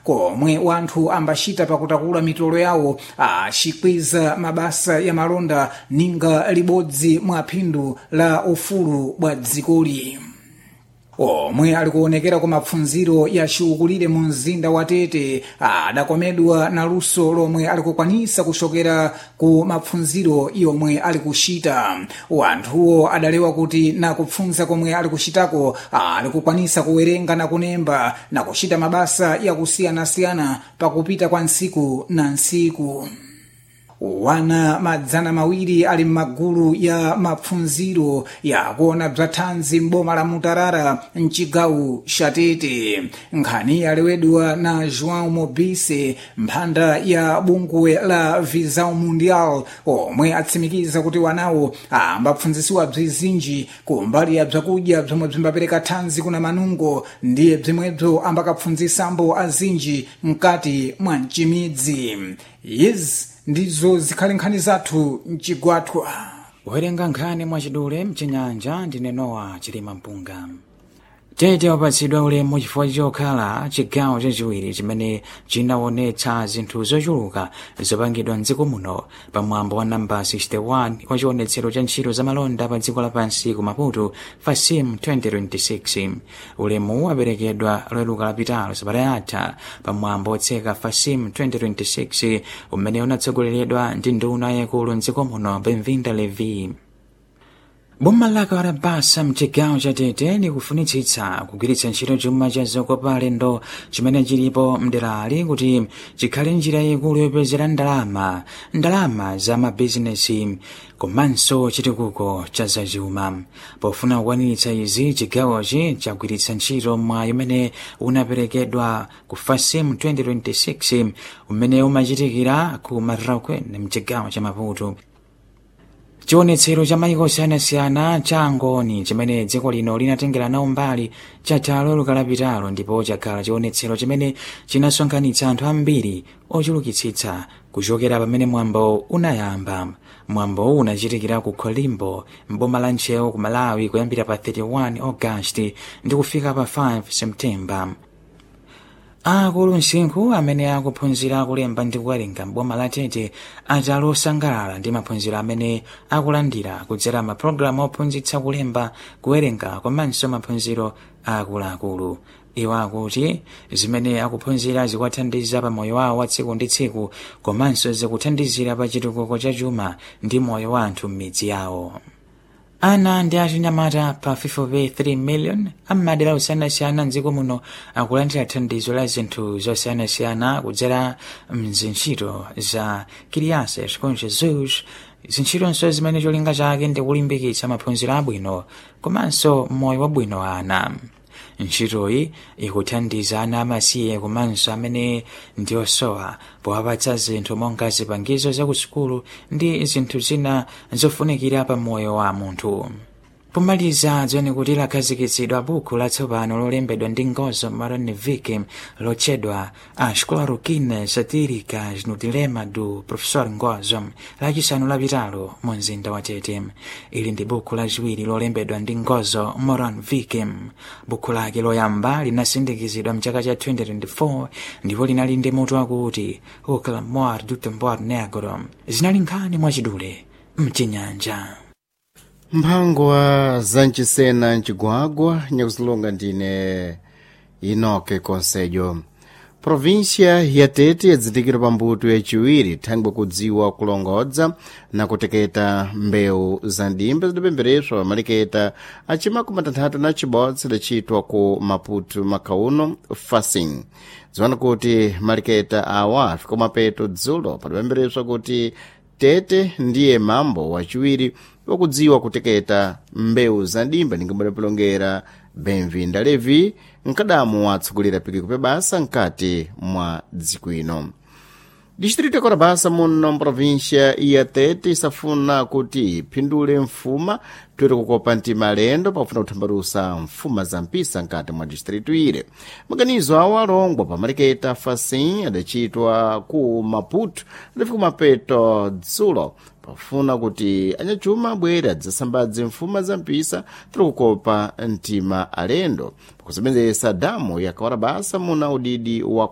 Komwe wanthu ambacita pakutakula mitolo yawo acikwiza mabasa ya malonda ninga libodzi mwa phindu la ufulu bwa dzikoli. Omwe ali kuonekera ku mapfundziro ya ciukulire mu mzinda wa Tete adakomedwa na luso lomwe ali kukwanisa kuxokera ku mapfundziro yomwe ali kuxita. Wanthuwo adalewa kuti na kupfundza komwe ali kuxitako ali kukwanisa kuwerenga na kunemba na kuxita mabasa yakusiyanasiyana pakupita kwa ntsiku na ntsiku. Wana 200 ali m'magulu ya mapfundziro yakuona bzathanzi m'boma la Mutarara mcigawo ca Tete. Nkhani yalewedwa na João Mobise, mphanda ya bungwe la Visão Mundial, omwe atsimikiza kuti wanawo ambapfundzisiwa bzizinji kumbali ya bzakudya bzomwe bzimbapereka thanzi kuna manungo, ndiye bzimwebzo ambakapfundzisambo azinji mkati mwa mcimidzi. Izi ndizo zikhale nkhani zathu mcigwathwa. Kuwerenga nkhani mwachidule mchinyanja ndine Nowa Chilima Mpunga. Tete wapatsidwa ulemu chifukwa chokhala chigawo chachiwiri chimene chinaonetsa zinthu zochuluka zopangidwa mdziko muno pamwambo wa namba 61 wa chionetsero cha ntchito za malonda pa dziko lapansi ku Maputo, Fasim 2026. Ulemu waperekedwa Loweruka lapitalo, sabata yatha, pamwambo otseka Fasim 2026 umene unatsogoleredwa ndi nduna yaikulu mdziko muno, Benvinda Levi. Boma la Karabasa mchigawo cha Tete likufunitsitsa kugwiritsa ntchito chuma cha zokopa alendo chimene chilipo mderali kuti chikhale njira yaikulu yopezera ndalama, ndalama za mabizinesi komanso chitukuko cha zachuma. Pofuna kukwaniritsa izi, chigawochi chagwiritsa ntchito mwayi umene unaperekedwa ku Fasim 2026 umene umachitikira ku Marraquene mchigawo cha Maputo. Chionetsero cha maiko osiyanasiyana cha ngoni chimene dziko lino linatengera nawo mbali chatha Loweruka lapitalo, ndipo chakhala chionetsero chimene chinasonkhanitsa anthu ambiri ochulukitsitsa kuchokera pamene mwambo unayamba. Mwambowu unachitikira ku Colimbo m'boma la Ntcheu ku Malawi kuyambira pa 31 August ndi kufika pa 5 September. Akulu msinkhu amene akuphunzira kulemba ndi kuwerenga m'boma la Tete ati ali osangalala ndi maphunziro amene akulandira kudzera mapulogalamu ophunzitsa kulemba, kuwerenga komanso maphunziro akuluakulu. Iwo akuti zimene akuphunzira zikuwathandiza pa moyo wawo wa tsiku ndi tsiku komanso zikuthandizira pa chitukuko cha chuma ndi moyo wa anthu m'midzi yawo. Ana ndi achinyamata pa 5.3 million am'madera osiyanasiyana mdziko muno akulandira thandizo la zinthu zosiyanasiyana kudzera mzintchito za Crianças com Jesus, zintchitonso zimene cholinga chake ndi kulimbikitsa maphunziro abwino komanso moyo wabwino wa ana. Ntchitoyi ikuthandiza ana amasiye komanso amene ndi osowa powapatsa zinthu monga zipangizo za kusukulu ndi zinthu zina zofunikira pa moyo wa munthu. Pomaliza, dziwani kuti lakhazikitsidwa buku latsopano lolembedwa ndi Ngozo Maronevic lotchedwa As Cloroquines Satíricas no Dilema do Professor Ngozo, lachisanu lapitalo mu mzinda wa Tete. Ili ndi buku lachiwiri lolembedwa ndi Ngozo Moranvik. Buku lake loyamba linasindikizidwa mchaka cha 2024 ndipo linali ndi mutu wakuti O Clamor do Tambor Negro. Zinali nkhani mwachidule mchinyanja. Mphangwa zancisena ncigwagwa nyakuzilonga ndine Inoke Conselho. Província ya Tete yadzindikira pambuto yaciwiri thangwe kudziwa kulongodza na kuteketa mbewu za ndimba zidapembereswa pamaliketa acimakumi atanthatu na cibodzi lidacitwa ku Maputo makhauno Facing. Ziwana kuti maliketa awa afika mapeto dzulo padapembereswa kuti Tete ndiye mambo waciwiri wakudziwa kuteketa mbewu za ndimba ningamudapilongera Benvinda Levi, mkadamu watsogolera pikiko pebasa mkati mwa dziko ino. Distrito ya Korabasa muno mprovíncia ya Tete isafuna kuti iphindule mfuma toera kukopa mtima alendo pakufuna kuthambalusa mfuma za mpisa mkati mwa distrito ile. Maganizo awo alongwa pamaliketa Facim adacitwa ku Maputo adafika mapeto dzulo pafuna kuti anyachuma abwere adzasambadze mfuma za mpisa tiri kukopa mtima alendo pakusebenzesa damu ya Kawarabasa muna udidi wa